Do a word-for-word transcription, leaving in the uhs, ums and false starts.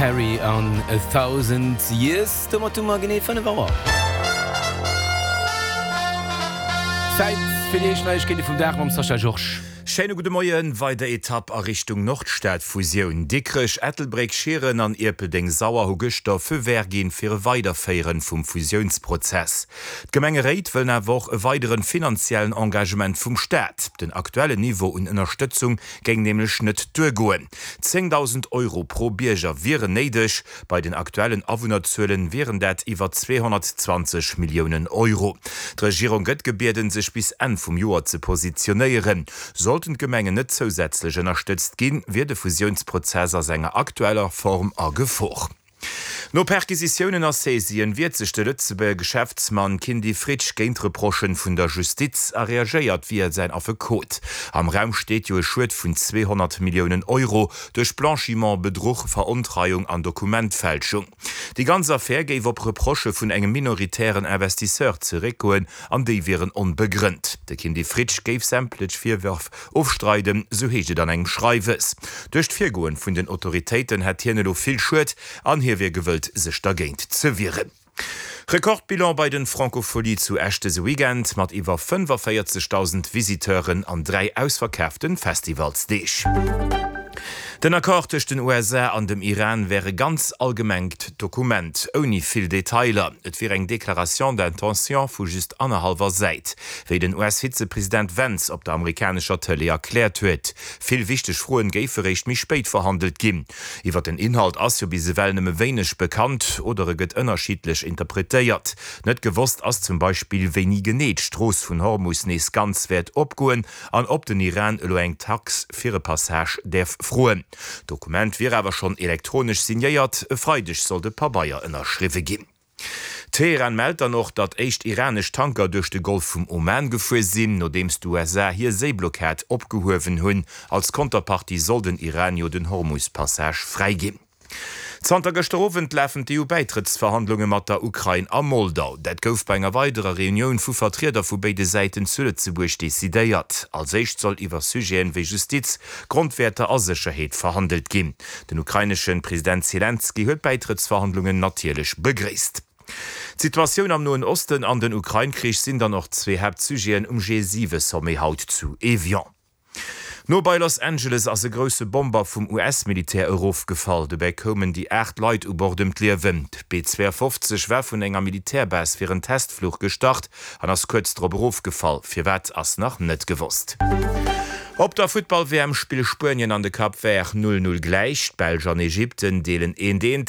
Perry an A Thousand Years. Domat hu mer genee fënnef Auer. Zäit fir déi éischt Neiegkeete vum Dag mam Sascha Georges. Schéine gudde Moien. Weider Etapp a Richtung Nordstad-Fusioun. Dikrech, Ettelbréck, Schieren an Ierpeldeng-Sauer hu gëschter Feu vert ginn fir e Weiderféieren vum Fusiounsprozess. D'Gemengeréit wëllen awer och e weideren finanziellen Engagement vum Staat. Den aktuellen Niveau un Ënnerstëtzung géing nämlech net duergoen. Zéngdausend Euro pro Bierger wieren néideg. Bei den aktuellen Awunnerzuelen wieren dat iwwer zweehonnertzwanzeg Milliounen Euro. D'Regierung gëtt gebieden, sech bis Enn vum Joer ze positionéieren. Sollten d'Gemengen net zousätzlech ënnerstëtzt ginn, wier de Fusiounsprozess a senger aktueller Form a Gefor. No Perquisitiounen a Saisien wiert sech de Lëtzebuerger Geschäftsmann Kindy Fritsch géint Reprochen vun der Justiz a reagéiert via säin Affekot. Am Raum steet jo e Schued vun zweehonnert Milliounen Euro duerch Blanchiment, Bedruch, Verontreiung an Dokumentfälschung. Déi ganz Affär géif op Reprochë vun engem minoritären Investisseur zeréckgoen an déi wieren onbegrënnt. De Kindy Fritsch géif sämtlech Virwërf ofstreiden, sou heescht et an engem Schreiwes. Duerch d'Virgoen vun den Autoritéiten hätt hien elo vill Schued an hie wier gewëllt sech dergéint ze wieren. Rekordbilan bei den Francofolies zu Esch dëse Weekend mat iwwer fënnefavéierzegdausend Visiteuren an dräi ausverkaaften Festivalsdeeg. Den Accord tëscht den U S A an dem Iran wär e ganz allgemengt Dokument, ouni vill Detailer. Et wier eng Déclaration d'intention vu just annerhallwer Säit, wéi den U S-Vizepresident Vance op der amerikanescher Tëlee erkläert huet. Vill wichteg Froen géife réischt méi spéit verhandelt ginn. Iwwer den Inhalt ass jo bis ewell nëmme wéineg bekannt oder e gëtt ënnerschiddlech interpretéiert. Net gewosst ass zum Beispill, wéini genee d'Strooss vun Hormus nees ganz wäert opgoen an ob den Iran elo eng Tax fir e Passage däerf froen. D'Dokument wier awer schonn elektronesch signéiert, e Freideg soll de Pabeier ënnerschriwwe ginn. Teheran mellt dann och, datt éischt iranesch Tanker duerch de Golf vum Oman gefuer sinn, nodeems d'U S A hir Séiblockad opgehuewen hunn. Als Konterpartie soll den Iran jo den Hormus-Passage fräiginn. Zanter gëschter Owend lafen d'E U-Bäitrëttsverhandlunge mat der Ukrain a Moldau. Dat gouf bei enger weiderer Reunioun vu Vertrieder vu béide Säiten zu Lëtzebuerg decidéiert. Als éischt soll iwwer Sujeten wéi Justiz, Grondwäerter a Sécherheet verhandelt ginn. Den ukrainesche President Selenskyj huet d'Bäitrëttsverhandlungen natierlech begréisst. D'Situatioun am Noen Osten an den Ukrain-Krich sinn dann och zwee Haaptsujeten um G siwe Sommet haut zu Evian. No bei Los Angeles ass e grousse Bomber vum U S-Militär erofgefall. Dobäi koumen déi aacht Leit u Bord ëm d'Liewen. D'B zwouafofzeg war vun enger Militärbase fir en Testfluch gestart an ass kuerz drop erofgefall. Firwat ass nach net gewosst. Op der Futtball-W M spille Spuenien an de Cap Vert null null gläich. D'Belsch an Ägypten deelen eent eent.